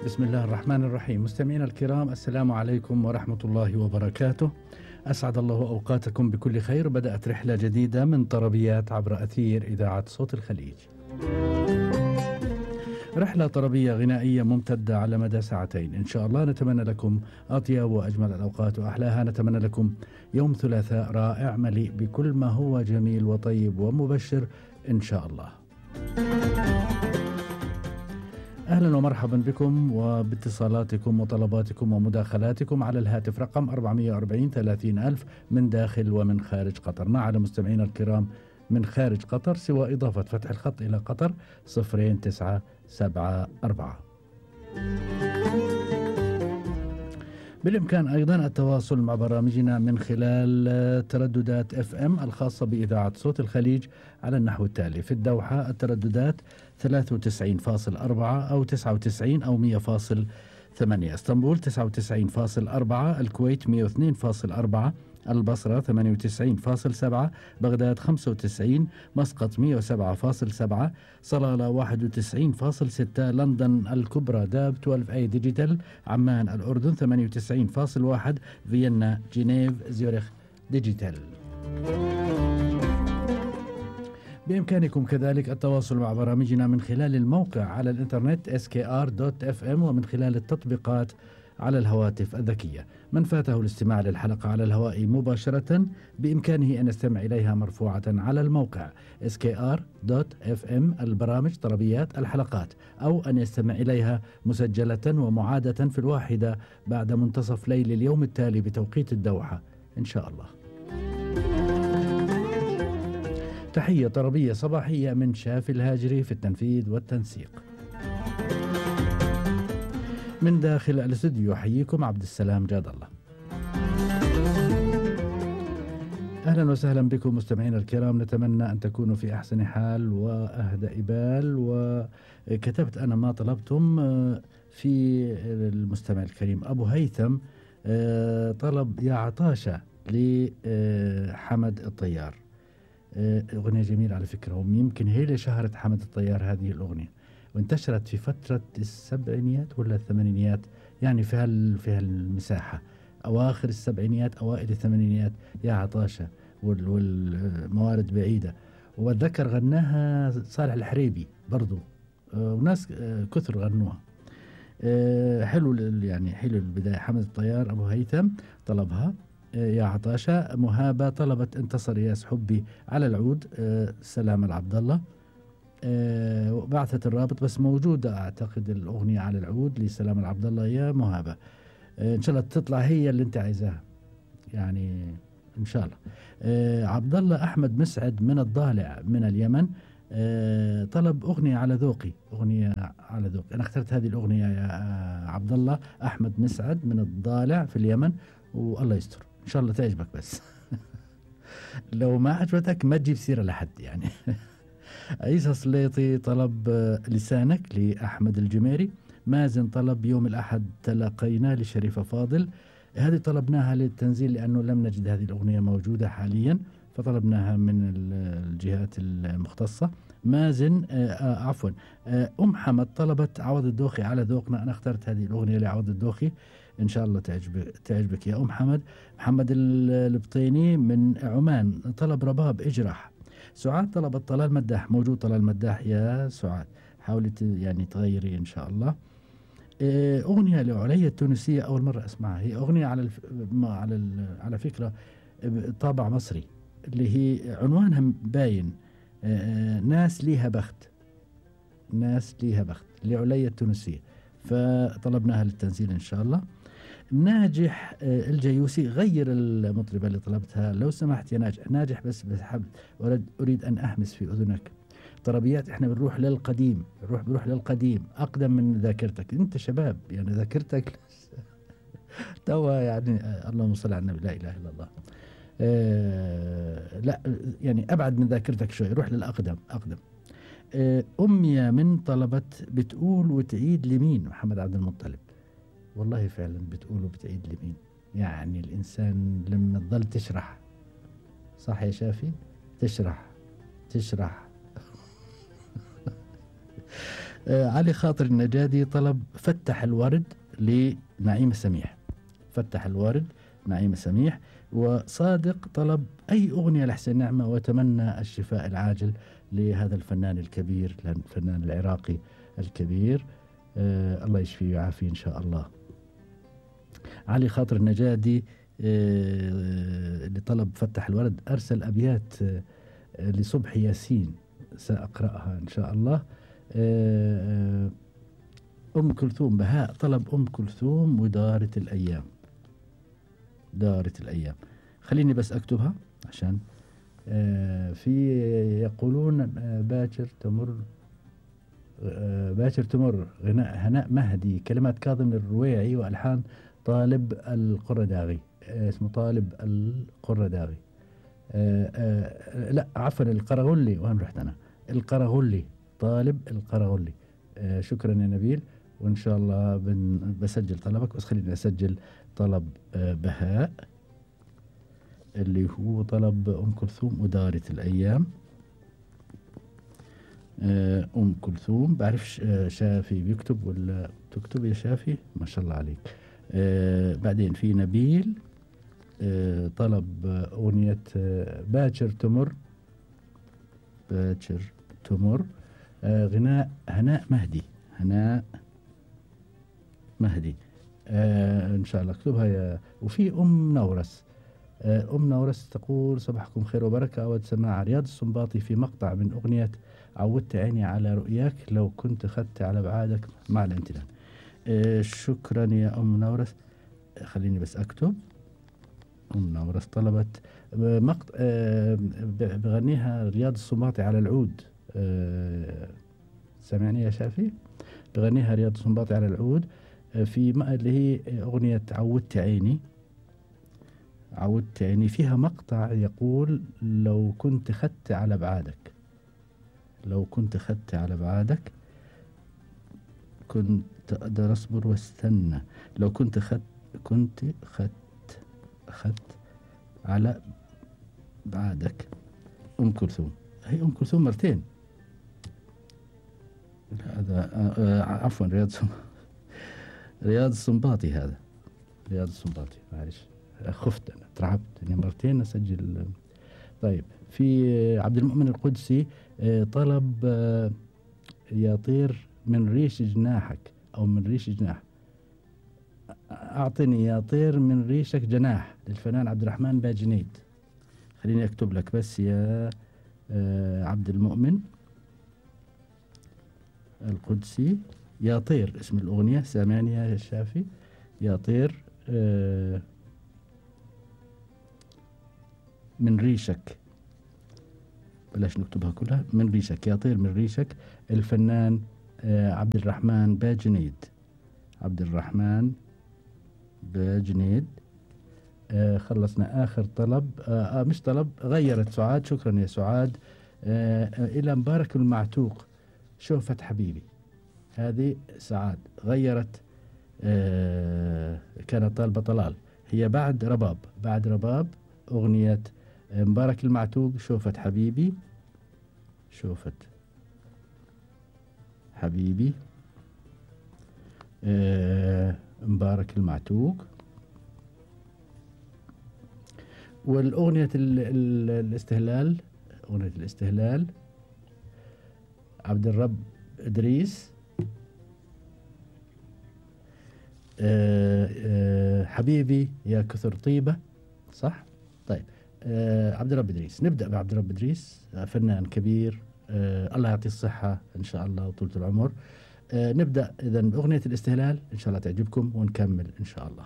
بسم الله الرحمن الرحيم. مستمعينا الكرام، السلام عليكم ورحمة الله وبركاته. أسعد الله أوقاتكم بكل خير. بدأت رحلة جديدة من طربيات عبر أثير إذاعة صوت الخليج. رحلة طربية غنائية ممتدة على مدى ساعتين إن شاء الله. نتمنى لكم أطيب وأجمل الأوقات وأحلاها. نتمنى لكم يوم ثلاثاء رائع مليء بكل ما هو جميل وطيب ومبشر إن شاء الله. أهلا ومرحبا بكم وباتصالاتكم وطلباتكم ومداخلاتكم على الهاتف رقم 440 30,000 من داخل ومن خارج قطر. ما على مستمعينا الكرام من خارج قطر سوى إضافة فتح الخط إلى قطر 0974. بالإمكان أيضا التواصل مع برامجنا من خلال ترددات FM الخاصة بإذاعة صوت الخليج على النحو التالي: في الدوحة الترددات 93.4 أو 99 أو 100.8، اسطنبول 99.4، الكويت 102.4، البصرة 98.7، بغداد 95، مسقط 107.7، صلالة 91.6، لندن الكبرى داب 12A ديجيتال، عمان الأردن 98.1، فيينا جنيف زيورخ ديجيتال. بإمكانكم كذلك التواصل مع برامجنا من خلال الموقع على الإنترنت skr.fm ومن خلال التطبيقات على الهواتف الذكية. من فاته الاستماع للحلقة على الهواء مباشرة بإمكانه أن يستمع إليها مرفوعة على الموقع skr.fm البرامج طربيات الحلقات، أو أن يستمع إليها مسجلة ومعادة في 1 بعد منتصف ليل اليوم التالي بتوقيت الدوحة إن شاء الله. تحية طربية صباحية من شافي الهاجري في التنفيذ والتنسيق. من داخل الاستوديو يحييكم عبد السلام جاد الله. أهلا وسهلا بكم مستمعين الكرام. نتمنى أن تكونوا في أحسن حال وأهدأ بال. وكتبت أنا ما طلبتم في المستمع الكريم أبو هيثم، طلب يا عطاشة لحمد الطيار. أغنية جميلة على فكرة، ويمكن هي اللي شهرت حمد الطيار هذه الأغنية، وانتشرت في فترة السبعينيات ولا الثمانينيات، يعني في المساحة، أواخر السبعينيات أوائل الثمانينيات. يا عطاشة والموارد بعيدة. وأتذكر غناها صالح الحريبي برضو، وناس كثر غنوها. حلو يعني حلو البداية. حمد الطيار أبو هيثم طلبها يا عطاشة. مهابة طلبت انتصر ياس حبي على العود، سلام العبد الله. وبعثت الرابط، بس موجودة أعتقد الأغنية على العود لسلام العبد الله يا مهابة. إن شاء الله تطلع هي اللي أنت عايزاها يعني إن شاء الله. عبد الله أحمد مسعد من الضالع من اليمن، طلب أغنية على ذوقي. أغنية على ذوقي، أنا اخترت هذه الأغنية يا عبد الله أحمد مسعد من الضالع في اليمن، والله يستر إن شاء الله تعجبك. بس لو ما عجبتك ما تجيب سيرة لحد يعني. عيسى سليطي طلب لسانك لأحمد الجميري. مازن طلب يوم الأحد تلاقينا لشريفة فاضل. هذه طلبناها للتنزيل لأنه لم نجد هذه الأغنية موجودة حاليا، فطلبناها من الجهات المختصة. مازن عفوا حمد طلبت عوض الدوخي على ذوقنا. أنا اخترت هذه الأغنية لعوض الدوخي، إن شاء الله تعجبك يا حمد. محمد البطيني من عمان طلب رباب اجرح. سعاد طلبت طلال مداح. موجود طلال مداح يا سعاد، حاولي يعني تغيري إن شاء الله. أغنية لعليا التونسية، أول مرة أسمعها. هي أغنية على فكرة طابع مصري، اللي هي عنوانها باين، ناس ليها بخت. ناس ليها بخت لعليا التونسية، فطلبناها للتنزيل إن شاء الله. ناجح الجيوسي، غير المطربة اللي طلبتها لو سمحت يا ناجح بس بحب أريد أن أحمس في أذنك. طربيات إحنا بنروح للقديم، بنروح للقديم أقدم من ذاكرتك. أنت شباب يعني ذاكرتك توا يعني اللهم صل على النبي، لا إله إلا الله. لا يعني أبعد من ذاكرتك شوي، روح للأقدم أقدم. أمي من طلبت بتقول وتعيد لمين. محمد عبد المطلب. والله فعلا بتقول وبتعيد لمين، يعني الإنسان لما تظل تشرح، صح يا شافي، تشرح علي خاطر النجادي طلب فتح الورد لنعيم السميح. فتح الورد نعيم السميح. وصادق طلب أي أغنية لحسين نعمة وتمنى الشفاء العاجل لهذا الفنان الكبير، الفنان العراقي الكبير. الله يشفيه ويعافيه إن شاء الله. علي خاطر النجادي اللي طلب فتح الورد أرسل أبيات لصبحي ياسين سأقرأها إن شاء الله. أم كلثوم بهاء طلب أم كلثوم ودارت الأيام. دارت الأيام. خليني بس أكتبها عشان في يقولون باكر تمر، باكر تمر غناء هناء مهدي، كلمات كاظم الرويعي وألحان طالب القرداغي. اسمه طالب القرداغي. لا عفوا القرغلي، وين رحت أنا؟ القرغلي، طالب القرغلي. شكرا يا نبيل، وإن شاء الله بسجل طلبك. بس خليني أسجل طلب بهاء اللي هو طلب أم كلثوم ودارت الأيام. أم كلثوم. بعرفش شافي بيكتب ولا تكتب يا شافي؟ ما شاء الله عليك. بعدين في نبيل طلب أغنية باكر تمر. باكر تمر غناء هناء مهدي. هناء مهدي. إن شاء الله اكتبها. وفي أم نورس. أم نورس تقول صباحكم خير وبركة، أود سماع رياض السنباطي في مقطع من أغنية عودت عيني على رؤياك لو كنت خدت على بعادك مع الامتنان. شكرا يا أم نورس. خليني بس أكتب. أم نورس طلبت مقطع بغنيها رياض السنباطي على العود. سمعني يا شافي؟ بغنيها رياض السنباطي على العود في اللي هي أغنية عودت عيني. عودت عيني فيها مقطع يقول لو كنت خدت على بعادك. لو كنت خدت على بعادك كنت أقدر أصبر واستنى. لو كنت خدت على بعادك. أم كلثوم. هي أم كلثوم مرتين. هذا عفوا رياض السنباطي. هذا رياض السنباطي. معلش خفت أنا، ترعبت إني مرتين أسجل. طيب في عبد المؤمن القدسي طلب يطير من ريش جناحك أو من ريش جناح. أعطني يا طير من ريشك جناح للفنان عبد الرحمن باجنيد. خليني أكتب لك بس يا عبد المؤمن القدسي. يا طير اسم الأغنية. سامعني يا شافي؟ يا طير من ريشك. بلاش نكتبها كلها. من ريشك. يا طير من ريشك الفنان عبد الرحمن باجنيد. عبد الرحمن باجنيد. خلصنا آخر طلب. مش طلب، غيرت سعاد. شكرا يا سعاد. إلى مبارك المعتوق شوفة حبيبي. هذه سعاد غيرت. كانت طالبة طلال. هي بعد رباب. بعد رباب أغنية مبارك المعتوق شوفة حبيبي. شوفة حبيبي. مبارك المعتوق. والأغنية الاستهلال. أغنية الاستهلال عبد الرب إدريس. حبيبي يا كثر طيبة. صح؟ طيب عبد الرب إدريس. نبدأ بعبد الرب إدريس، فنان كبير. الله يعطيه الصحة إن شاء الله وطولة العمر. نبدأ إذن بأغنية الاستهلال إن شاء الله تعجبكم ونكمل إن شاء الله.